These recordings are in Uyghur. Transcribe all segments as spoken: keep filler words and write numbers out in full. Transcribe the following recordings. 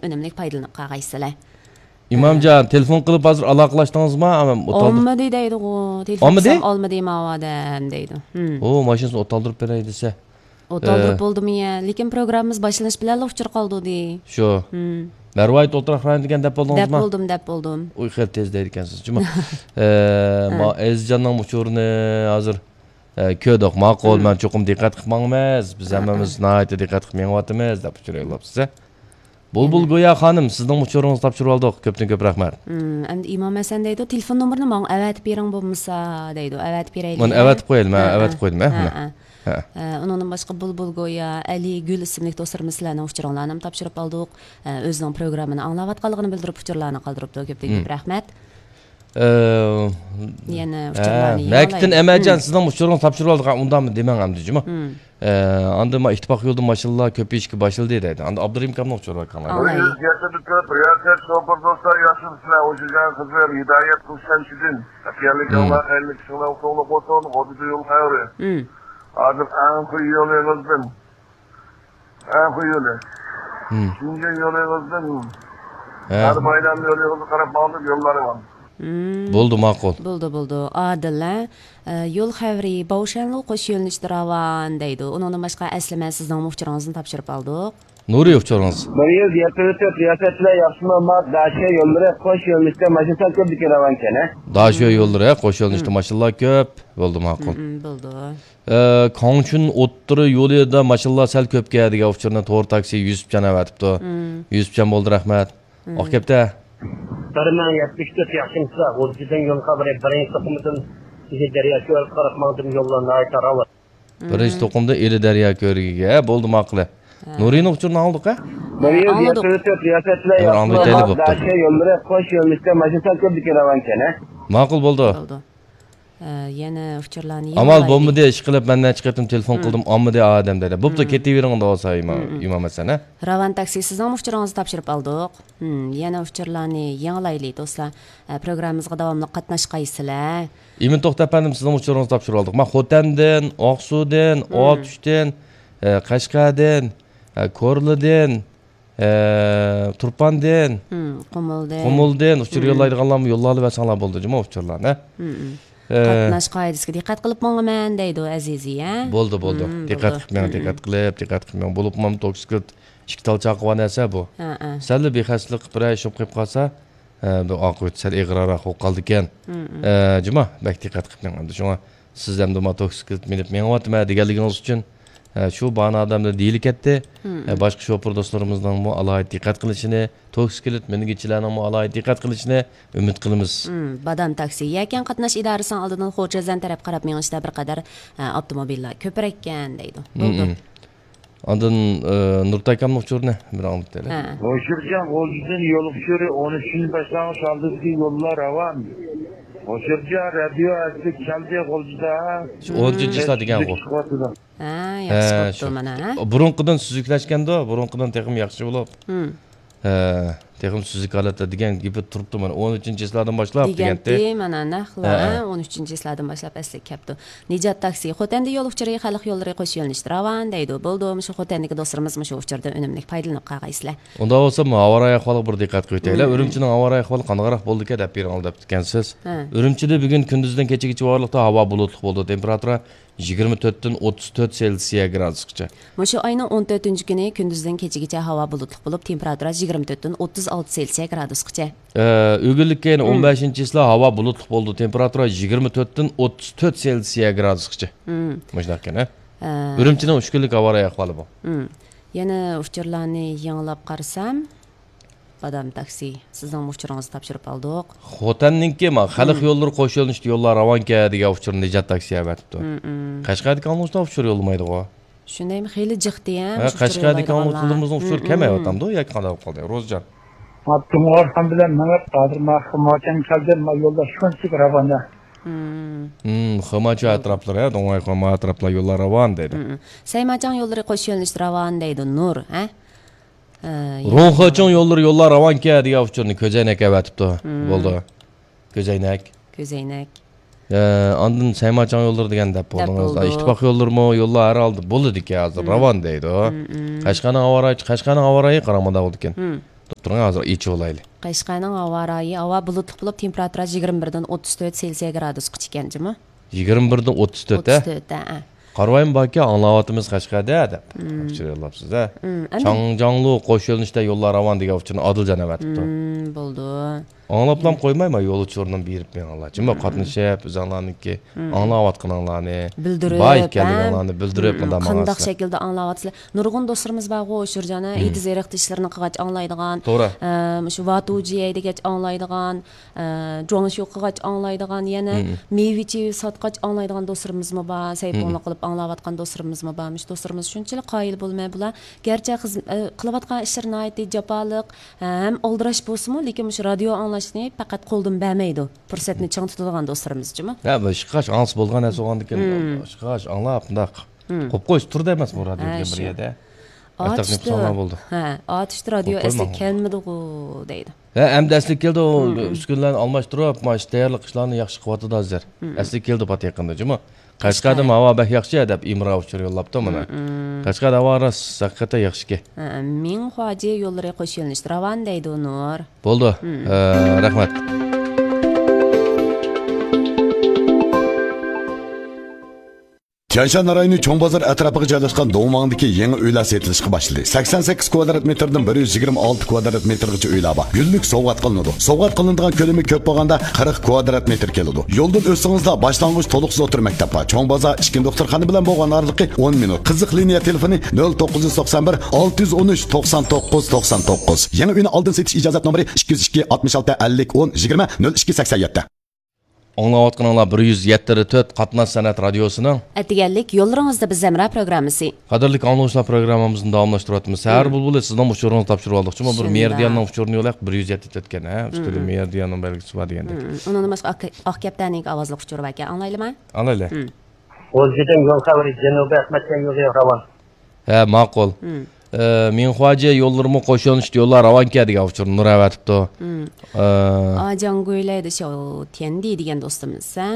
ئۈنۈملۈك پايدىلىنىپ قالغايسىلەر. ئىمامجان، تېلېفون قىلىپ ھازىر ئالاقىلاشتىڭىزمۇ؟ ئالمىدى دەيدىغۇ. تېلېفون ئالمىدى؟ قىلسام، «ئالمىدى ماۋۇ ئادەم» دەيدۇ. ھىم. ئۇ ماشىنىسىنى ئوتالدۇرۇپ بېرەي دېسە. ئوتالدۇرۇپ بولدىمۇ يە؟ لېكىن پروگراممىمىز باشلىنىش بىلەنلا ئۇچۇر قالدۇدى. شۇ. ھىم. مەرۋايىت ئولتۇراق رايونىدىكەن دەپ بولدىڭىزمۇ؟ دەپ بولدۇم، دەپ بولدۇم. ئۇ خېلى تېز دەيدىكەنسىز جۇمۇ. ئە، ما ئەزىزجاننىڭ ئۇچۇرىنى ھازىر، ئە، كۆردۇق. ماقۇل، مەن چوقۇم دىققەت قىلىپ ماڭىمىز. بىز ھەممىمىز ناھايىتى دىققەت قىلىپ مېڭىۋاتىمىز دەپ ئۇچۇر يوللاپسىز. بۇلبۇل گويا خانىم، سىزنىڭ ئۇچۇرىڭىزنى تاپشۇرۇۋالدۇق. كۆپتىن كۆپ رەھمەت. ھىم، ئەمدى ئىمام ھەسەن دەيدۇ، تېلېفون نومۇرىنى ماڭا ئەۋەتىپ بېرىڭ بولمىسا دەيدۇ. ئەۋەتىپ بېرەيلى. مانا ئەۋەتىپ قويايلى، مەن ئەۋەتىپ قويدۇم، ھە، مانا. ھە. ئە، ئۇنىڭدىن باشقا بۇلبۇل گويا، ئەلى، گۈل ئىسىملىك دوستلىرىمىز سىلەرنىڭ ئۇچۇرۇڭلارنىمۇ تاپشۇرۇپ ئالدۇق. ئە، ئۆزىنىڭ پروگراممىنى ئاڭلاۋاتقانلىقىنى بىلدۈرۈپ ئۇچۇرلارنى قالدۇرۇپتۇ. كۆپتىن كۆپ رەھمەت. ئە، يەنە ئۇچۇرلارنى يېڭىلايلى. مەكىتتىن ئەمەجان، سىزنىڭ ئۇچۇرىڭىزنى تاپشۇرۇۋالدۇق، ئۇنداقمۇ دېمەڭ ئەمدى جۇمۇ. ئە، ئاندىن ما ئىتتىپاق يولىدا ماشىنىلار كۆپىيىشكە باشلىدى دەيدۇ. ئاندىن ئابدۇرېھىم ئاكامنىڭ ئۇچۇرى بار، قاراڭلار. ئاڭلايلى. رىياسەت شوپۇر دوستلار، ياخشىمۇسىلەر؟ ئوشۇرجان خىزىر، ھىدايەت قۇشچان چىدىن. خەيرلىك ئاڭلار، خەيرلىك ئىشىڭلار ئوڭلۇق بولسۇن. غۇددىدا يول خەۋىرى. ھازىر ئەڭخۇي يولى ئېغىزدىن. ئەڭخۇي يولى. شىنجاڭ يولى ئېغىزدىن. ھە. ھەر بايرام يولى ئېغىزىغا قاراپ ماڭدۇق، يوللار ئامان. بولدى، ماقۇل. بولدى، بولدى. ئادىل، ھە؟ ئە، يول خەۋىرى، باۋشەنلۇ قوش يۆنىلىشتە راۋان دەيدۇ. ئۇنىڭدىن باشقا، ئەسلىمە، سىزنىڭمۇ ئۇچۇرىڭىزنى تاپشۇرۇپ ئالدۇق. نۇرى ئۇچۇرىڭىز. بىر يۈز يەتمىش تۆت رىياسەتچىلەر ياخشىمۇ؟ ما داشۆ يوللىرى قوش يۆنىلىشتە ماشىنا كۆپ دېگەن راۋانكەن، ھە؟ داشۆ يوللىرى قوش يۆنىلىشتە ماشىنىلار كۆپ. بولدى، ماقۇل. مم، بولدى. ئە، كاڭچۈن ئوتتۇرا يولىدا ماشىنىلار سەل كۆپكەن دېگەن ئۇچۇرنى تور تاكسى يۈسۈپجان ئەۋەتىپتۇ. مم. يۈسۈپجان بولدى، رەھمەت. مم. ئاق كەپتە. بىر مىڭ يەتمىش تۆت ياخشىمۇسىلەر؟ غۇلجىدىن يول خەۋىرى، بىرىنچى توقۇمدىن ئىلى دەريا كۆلىگە قاراپ ماڭدىم، يوللار ناھايىتى راۋان. بىرىنچى توقۇمدا ئىلى دەريا كۆلىگە، ھە، بولدى، ماقۇل. ھە. نۇرىنىڭ ئۇچۇرىنى ئاڭلىدۇق، ھە؟ بىر يۈز يەتمىش تۆت رىياسەتچىلەر ياخشىمۇ؟ داشۆ يوللىرى قوش يۆنىلىشتە ماشىنا كۆپ دېگەن راۋانكەن، ھە؟ ماقۇل، بولدى. بولدى. ئە، يەنە ئۇچۇرلارنى ئامال يېڭىلايلى. بولمىدى، ئىشقىلىپ مەن نەچچە قېتىم تېلېفون قىلدىم، ئالمىدى ئادەم دېدى. بوپتۇ، كېتىۋېرىڭ دەۋالسا، ئىمام ھەسەن، ھە؟ راۋان تاكسى، سىزنىڭمۇ ئۇچۇرىڭىزنى تاپشۇرۇپ ئالدۇق. ھىم، يەنە ئۇچۇرلارنى يېڭىلايلى، دوستلار. ئە، پروگراممىمىزغا داۋاملىق قاتناشقايسىلەر. ئىمىن توختى ئەپەندىم، سىزنىڭ ئۇچۇرىڭىزنى تاپشۇرۇۋالدۇق. مانا خوتەندىن، ئاقسۇدىن، ئاتۇشتىن، ئە، قەشقەردىن، ئە، كورلىدىن، ئە، تۇرپاندىن، قۇمۇلدىن. قۇمۇلدىن ئۇچۇر يوللايدىغانلارمۇ يوللاۋەرسەڭلار بولدى جۇمۇ ئۇچۇرلارنى. ئە، قاتناش قائىدىسىگە دىققەت قىلىپ ماڭىمەن دەيدۇ ئەزىزى، ھە؟ بولدى، بولدى. دىققەت قىلىپ مېڭىڭ، دىققەت قىلىپ، دىققەت قىلىپ مېڭىڭ. بولۇپمۇ توكسىكلىت ئىككى تال چاقىغان نەرسە بۇ. ھە، ھە. سەللا بىخەستىلىك قىلىپ بىرەر ئىش بولۇپ قېلىپ قالسا، ئە، بۇ ئاقىۋىتى سەل ئېغىرراق بولۇپ قالىدىكەن. ئە، جۇما، بەك دىققەت قىلىپ مېڭىڭ. شۇڭا سىز ئەمدى ما توكسىكلىت مىنىپ مېڭىۋاتىمەن دېگەنلىكىڭىز ئۈچۈن، ئە، شۇ باھانە ئادەملەر دېيىلىكەتتى. ئە، باشقا شوپۇر دوستلىرىمىزنىڭمۇ ئالاھىدە دىققەت قىلىشىنى، توكسىكلىت مىنگۈچىلەرنىڭمۇ ئالاھىدە دىققەت قىلىشىنى ئۈمىد قىلىمىز. بادام تاكسى، يەكەن قاتناش ئىدارىسىنىڭ ئالدىدىن خۇجەزەن تەرەپ قاراپ مېڭىشتا بىر قەدەر، ئە، ئاپتوموبىللار كۆپرەككەن دەيدۇ. بولدى. ئاندىن، ئى، نۇرتاي ئاكامنىڭ ئۇچۇرىنى بىر ئاڭلىتايلى. ھە. ھوشۇرجان، غۇلجىدىن يول ئۇچۇرى ئون ئۈچىنچى باشلانغۇچ ئالدىدىكى يوللار راۋان. ھوشۇرجان، رادىيو ئەسلىگە كەلدى غۇلجىدا. شۇ ئون ئۈچىنچى چىسلا دېگەنغۇ. ھە، ياخشى بوپتۇ مانا، ھە؟ بۇرۇنقىدىن سۈزۈكلەشكەندۇ، بۇرۇنقىدىن تېخىمۇ ياخشى بولۇپ. ھە، تېخىمۇ سۈزۈك ھالەتتە دېگەن گېپى تۇرۇپتۇ مانا، ئون ئۈچىنچى چىسلادىن باشلاپ دېگەنتى. دېگەنتى، مانا نەقلا، ھە، ھە. ئون ئۈچىنچى چىسلادىن باشلاپ ئەسلىگە كەپتۇ. نىجات تاكسى، خوتەندە يول ئۇچۇرى، خەلق يوللىرى قوش يۆنىلىشتە راۋان دەيدۇ. بولدى، مۇشۇ خوتەندىكى دوستلىرىمىز مۇشۇ ئۇچۇردىن ئۈنۈملۈك پايدىلىنىپ قالغايسىلەر. ئۇنداق بولسا، ھاۋارايى ئەھۋالىغا بىر دىققەت قىلىۋېتەيلى. ئۈرۈمچىنىڭ ھاۋارايى ئەھۋالى قانداقراق بولدىكەن دەپ بېرىڭلار دەپتىكەنسىز. ھە. ئۈرۈمچىدە بۈگۈن كۈندۈزدىن كېچىگىچە ئارىلىقتا ھاۋا بۇلۇتلۇق بولىدۇ. تېمپېراتۇرا يىگىرمە تۆتتىن ئوتتۇز تۆت سېلسىيە گرادۇسقىچە. مۇشۇ ئاينىڭ ئون تۆتىنچى كۈنى كۈندۈزدىن كېچىگىچە ھاۋا بۇلۇتلۇق بولۇپ، تېمپېراتۇرا يىگىرمە تۆتتىن ئوتتۇز ئالتە سېلسىيە گرادۇسقىچە. ئە، ئۆگۈنلۈككە يەنە ئون بەشىنچى چىسلا ھاۋا بۇلۇتلۇق بولىدۇ، تېمپېراتۇرا يىگىرمە تۆتتىن ئوتتۇز تۆت سېلسىيە گرادۇسقىچە. مۇشۇنداق ئىكەن، ھە؟ ئە. ئۈرۈمچىنىڭ ئۈچ كۈنلۈك ھاۋا رايى ئەھۋالى بۇ. يەنە ئۇچۇرلارنى يېڭىلاپ قارىسام، بادام تاكسى، سىزنىڭمۇ ئۇچۇرىڭىزنى تاپشۇرۇپ ئالدۇق. خوتەننىڭكى ما، خەلق يوللىرى قوش يۆنىلىشتە يوللار راۋانكەن دېگەن ئۇچۇرنى نىجات تاكسى ئەۋەتىپتۇ. قەشقەردىكى ئاڭلىغۇچىلار ئۇچۇر يوللىمايدىغۇ. شۇندايمۇ خېلى جىق دېگەن، ھە، قەشقەردىكى ئاڭلىغۇچىلىرىمىزنىڭ ئۇچۇرى كەمەيۋاتامدۇ ياكى قانداق بولۇپ قالدى، روزىجان؟ ما، دۇڭغارخان بىلەن مېڭىپ، ھازىر ما، خىماچان كەلدى، ما، يوللار شۇنچىلىك راۋان. خىماچان ئەتراپلىرى، ھە، دۇڭغارخان ئەتراپلار يوللار راۋان دەيدۇ. سەيماچاڭ يوللىرى قوش يۆنىلىشتە راۋان دەيدۇ، نۇر، ھە؟ ئە، روڭخېچىڭ يوللىرى يوللار راۋانكەن دېگەن ئۇچۇرنى كۆزەينەك ئەۋەتىپتۇ. بولدى. كۆزەينەك. كۆزەينەك. ئە، ئاندىن سەيماچاڭ يوللىرى دېگەن دەپ بولدىڭىز. ئىتتىپاق يوللىرىمۇ يوللار ھەر ھالدا بولىدىكەن ھازىر، راۋان دەيدۇ. قەشقەرنىڭ ھاۋا رايى، قەشقەرنىڭ ھاۋا رايى قاراڭ مۇنداق بولىدىكەن. تۇرۇڭ، ھازىر ئېچىۋالايلى. قەشقەرنىڭ ھاۋا رايى، ھاۋا بۇلۇتلۇق بولۇپ، تېمپېراتۇرا يىگىرمە بىردىن ئوتتۇز تۆت سېلسىيە گرادۇسقىچە ئىكەن جۇمۇ. يىگىرمە بىردىن ئوتتۇز تۆت، ھە؟ ئوتتۇز تۆت، ھە. قارىۋايمۇ باركەن، ئاڭلاۋاتىمىز قەشقەردە دەپ. ئۇچۇر يوللاپسىز، ھە؟ چاڭجاڭلۇ قوش يۆنىلىشتە يوللار راۋان دېگەن ئۇچۇرنى ئادىلجان ئەۋەتىپتۇ. بولدى. ئاڭلاپلام قويماي، ما يول ئۇچۇرىنى بېرىپ مېڭىڭلار. جۇمۇ قاتنىشىپ، ئۆزۈڭلارنىڭكى ئاڭلاۋاتقىنىڭلارنى، بىلدۈرۈپ، بار ئىكەنلىكىڭلارنى بىلدۈرۈپ، مۇنداق قانداق ماڭىڭلار. شەكىلدە ئاڭلاۋاتىسىلەر؟ نۇرغۇن دوستلىرىمىز بارغۇ، ئۇچۇر جانا، ئېتىز ئېرىق تىشلىرىنى قىلغاچ ئاڭلايدىغان، توغرا. ئە، مۇشۇ ۋاتۇجيەي دېگەچ ئاڭلايدىغان، ئە، جۇاڭشيۇ قىلغاچ ئاڭلايدىغان، يەنە مېۋە چېۋە ساتقاچ ئاڭلايدىغان دوستلىرىمىزمۇ بار، سەيپۇڭلۇق قىلىپ ئاڭلاۋاتقان دوستلىرىمىزمۇ بار. مۇشۇ دوستلىرىمىز شۇنچىلىك قايىل بولماي بۇلار. گەرچە خىز-، ئە، قىلىۋاتقان ئىشلىرى ناھايىتى جاپالىق، ھەم ئالدىراش بولسىمۇ، لېكىن مۇشۇ رادىيو ئاڭلاشنى پەقەت قولدىن بەرمەيدۇ. پۇرسەتنى چىڭ تۇتىدىغان دوستلىرىمىز جۇمۇ. ھە، بۇ ئىشقاش ئاڭلىسا بولغان نەرسە بولغاندىكىن، ئىشقاش ئاڭلاپ، مۇنداق قويۇپ قويسا تۇرىدۇ ئەمەسمۇ رادىيو دېگەن بىر يەردە. ئاتۇشتا، ھە، ئاتۇشتا رادىيو ئەسلىگە كەلمىدىغۇ دەيدۇ. ھە، ئەمدى ئەسلىگە كەلدى، ئۇ ئۈسكۈنىلەرنى ئالماشتۇرۇپ، ما ئىشتا تەييارلىق ئىشلارنى ياخشى قىلىۋاتىدۇ ھازىر. ئەسلىگە كەلدى پات يېقىندا جۇمۇ. قەشقەردىمۇ ھاۋا بەك ياخشى دەپ ئىمرا ئۇچۇر يوللاپتۇ مانا. قەشقەردە ھاۋا راست ھەقىقەتەن ياخشىكەن. ھە، مىڭخۇاجيې يوللىرى قوش يۆنىلىشتە راۋان دەيدۇ نۇر. بولدى. ھە، رەھمەت. تيەنشان رايونى چوڭ بازار ئەتراپىغا جايلاشقان دۇڭۋاڭدىكى يېڭى ئۆيلەر سېتىلىشقا باشلىدى. سەكسەن سەككىز كۋادرات مېتىردىن بىر يۈز يىگىرمە ئالتە كۋادرات مېتىرغىچە ئۆيلەر بار. گۈللۈك سوۋغات قىلىنىدۇ. سوۋغات قىلىنىدىغان كۆلىمى كۆپ بولغاندا قىرىق كۋادرات مېتىر كېلىدۇ. يولدىن ئۆتسىڭىزلا باشلانغۇچ تولۇقسىز ئوتتۇرا مەكتەپ بار. چوڭ بازار ئىككىنچى دوختۇرخانا بىلەن بولغان ئارىلىقى ئون مىنۇت. قىزىق لىنىيە تېلېفونى نۆل توققۇز يۈز توقسان بىر، ئالتە يۈز ئون ئۈچ، توقسان توققۇز، توقسان توققۇز. يېڭى ئۆينى ئالدىن سېتىش ئىجازەت نومۇرى ئىككى يۈز ئىككى، ئاتمىش ئالتە، ئەللىك، ئون، يىگىرمە، نۆل ئىككى، سەكسەن يەتتە. ئاڭلاۋاتقىنىڭلار بىر يۈز يەتتە تۆت قاتناش سەنئەت رادىيوسىنىڭ ئەتىگەنلىك يوللىرىڭىزدا بىز ھەمراھ پروگراممىسى. قەدىرلىك ئاڭلىغۇچىلار، پروگراممىمىزنى داۋاملاشتۇرۇۋاتىمىز. سەھەر بۇلبۇلى سىزنىڭ ئۇچۇرىڭىزنى تاپشۇرۇۋالدۇق. شۇڭا بىر مېرىدىياننىڭ ئۇچۇرىنى يوللايلى، بىر يۈز يەتتە تۆتكەن، ھە؟ ئۈستىدە مېرىدىياننىڭ بەلگىسى بار دېگەندەك. ئۇنىڭدىن باشقا ئاق-، ئاق كەپتەرنىڭكى ئاۋازلىق ئۇچۇرى باركەن، ئاڭلايلىما؟ ئاڭلايلى. غۇلجىدىن يول خەۋىرى، جەنۇبىي ئەخمەتجان يولى راۋان. ھە، ماقۇل. ئە، مىڭخۇاجيې يوللىرىمۇ قوش يۆنىلىشتە يوللار راۋانكەن دېگەن ئۇچۇرنى نۇر ئەۋەتىپتۇ. ئە، ئاجاڭگۇيلەيدە شاۋتيەندى دېگەن دوستىمىز، ھە؟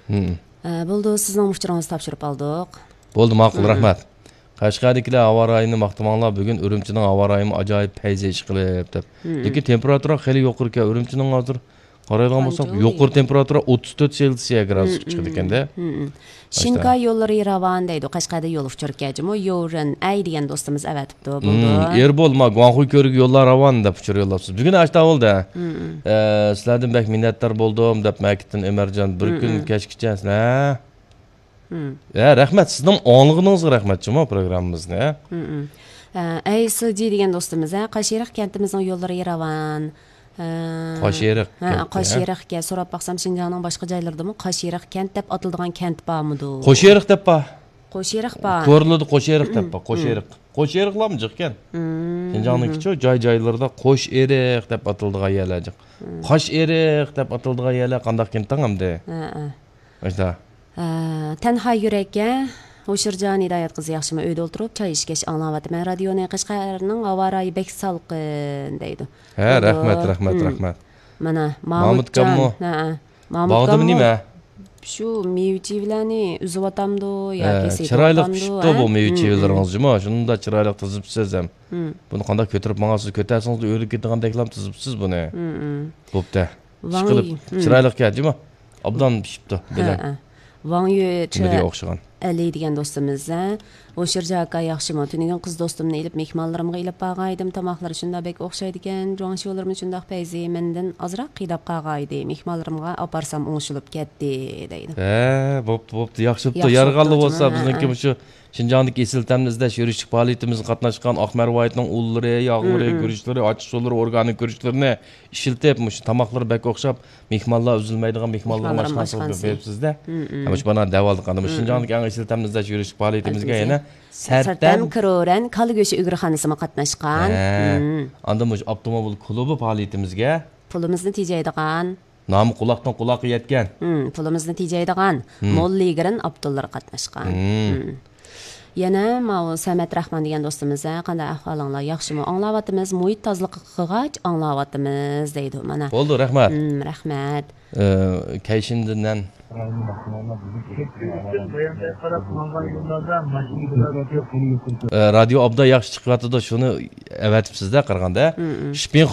ئە، بولدى، سىزنىڭ ئۇچۇرىڭىزنى تاپشۇرۇپ ئالدۇق. بولدى، ماقۇل، رەھمەت. قەشقەردىكىلەر ھاۋا رايىنى ماختىماڭلار، بۈگۈن ئۈرۈمچىنىڭ ھاۋا رايىمۇ ئاجايىپ پەيزى ئىشقىلىپ دەپ. لېكىن تېمپېراتۇرا خېلى يۇقىرىكەن. ئۈرۈمچىنىڭ ھازىر قارايدىغان بولساق، قانچە يۇقىرى دېگەن؟ تېمپېراتۇرا ئوتتۇز تۆت سېلسىيە گرادۇسقا چىقىدىكەن-دە. شىنكاي يوللىرى راۋان دەيدۇ. قەشقەردە يول ئۇچۇرى كەجىمۇ، يورېن ئەي دېگەن دوستىمىز ئەۋەتىپتۇ. بولدى. ئېربول، ما گۇاڭخۇي كۆۋرۈكى يوللار راۋان دەپ ئۇچۇر يوللاپسىز. بۈگۈن ئاشتا بولدى. ئە، سىلەردىن بەك مىننەتدار بولدۇم دەپ مەكىتتىن ئۆمەرجان، بىر كۈن كەچكىچە سىلەر. ھە، رەھمەت، سىزنىڭ ئاڭلىغىنىڭىزغا رەھمەت جۇمۇ پروگراممىمىزنى. ھە، ئەي سىلجى دېگەن دوستىمىز، ھە، قاشئېرىق كەنتىمىزنىڭ يوللىرى راۋان. ھە. قاشئېرىق ھە، كەنتى، ھە؟ قاشئېرىق ئىكەن. سوراپ باقسام، شىنجاڭنىڭ باشقا جايلىرىدىمۇ قاشئېرىق كەنت دەپ ئاتىلىدىغان كەنت بارمىدۇ؟ قوشئېرىق دەپ بار. قوشئېرىق بار. كورلىدا قوشئېرىق دەپ بار. قوشئېرىق. قوشئېرىقلارمۇ جىق ئىكەن. شىنجاڭنىڭكىچۇ جاي-جايلىرىدا قوشئېرىق دەپ ئاتىلىدىغان يەرلەر جىق. قاشئېرىق دەپ ئاتىلىدىغان يەرلەر قانداق كەنتىڭ ئەمدى؟ ھە، ھە. ئاشتا. ئە، تەنھا يۈرەككە، ھوشۇرجان ھىدايەت قىزى ياخشىمۇ؟ ئۆيدە ئولتۇرۇپ چاي ئىچكەچ ئاڭلاۋاتىمەن رادىيونى. قەشقەرنىڭ ھاۋا رايى بەك سالقىن دەيدۇ. ھە، بولدى. رەھمەت، رەھمەت، رەھمەت. مانا، مامۇتجان. مامۇتكانمۇ؟ ھە، ھە. مامۇتكانمۇ؟ باغدىمۇ نېمە؟ شۇ مېۋە-چېۋىلەرنى ئۈزۈۋاتامدۇ ياكى ھە، چىرايلىق سېتىۋاتامدۇ، پىشىپتۇ بۇ ھە؟ مېۋە-چېۋىلىرىڭىز جۇمۇ. شۇنداق چىرايلىق تىزىپسىز ھەم. بۇنى قانداق كۆتۈرۈپ ماڭاسىز؟ كۆتەرسىڭىز ئۆرۈلۈپ كېتىدىغاندەكلا تىزىپسىز بۇنى. بوپتۇ. ئىشقىلىپ، چىرايلىق گەپ جۇمۇ. ئوبدان پىشىپتۇ، ھە، بىلەن. ھە. ۋاڭ يۈ چى نېمىگە ئوخشىغان؟ ئەلى دېگەن دوستىمىز، ھە؟ ھوشۇرجان ئاكا ياخشىمۇ؟ تۈنۈگۈن قىز دوستۇمنى ئېلىپ مېھمانلىرىمغا ئېلىپ بارغانىدىم. تاماقلىرى شۇنداق بەك ئوخشايدىكەن. جۇاڭشيۇلىرىمۇ شۇنداق پەيزى. مەندىن ئازراق قىيناپ قالغانىدى. مېھمانلىرىمغا ئاپارسام ئوڭشىلىپ كەتتى، دەيدۇ. ھە، بوپتۇ، بوپتۇ. ياخشى بوپتۇ. يارىغانلا بولسا، ھە، بىزنىڭكى ھە. مۇشۇ شىنجاڭدىكى ئېسىل تەمنى ئىزدەش يۈرۈشلۈك پائالىيىتىمىزگە قاتناشقان ئاق مەرۋايىتنىڭ ئۇللىرى، ياغلىرى، مم، مم. گۈرۈچلىرى، ئاچچىق سۇلىرى، ئورگانىك گۈرۈچلىرىنى ئىشلىتىپ، مۇشۇ تاماقلىرى بەك ئوخشاپ، مېھمانلار ئۈزۈلمەيدىغان، مېھمانلارغا ماشىنا ئاشخانا قىلىپ بېرىپسىز-دە. مم، مم. ھە، مۇشۇ مانا دەۋالدۇق. ئاندىن مۇشۇ، مم، شىنجاڭدىكى ئەڭ ئېسىل تەمنى ئىزدەش يۈرۈشلۈك پائالىيىتىمىزگە يەنە سەرتەم، سەرتەم كرورەن كالا گۆشى ئۈگرىخانىسىمۇ قاتناشقان. ھە. مم. ئاندىن مۇشۇ ئاپتوموبىل كۇلۇبى پائالىيىتىمىزگە پۇلىمىزنى تېجەيدىغان. نامى قۇلاقتىن قۇلاققا يەتكەن. مم، پۇلىمىزنى تېجەيدىغان، مم، مول لىگرىن ئاپتوللىرى قاتناشقان. مم. مم. يەنە ماۋۇ سەمەت راخمان دېگەن دوستىمىز، ھە، قانداق ئەھۋالىڭلار؟ ياخشىمۇ؟ ئاڭلاۋاتىمىز، مۇھىت تازىلىقى قىلغاچ ئاڭلاۋاتىمىز، دەيدۇ، مانا. بولدى، رەھمەت. مم، رەھمەت. ئە، كەيشىندىنەن ئە، رادىيو ئوبدان ياخشى چىقىۋاتىدۇ، شۇنى ئەۋەتىپسىز-دە قارىغاندا. شپىنخاۋ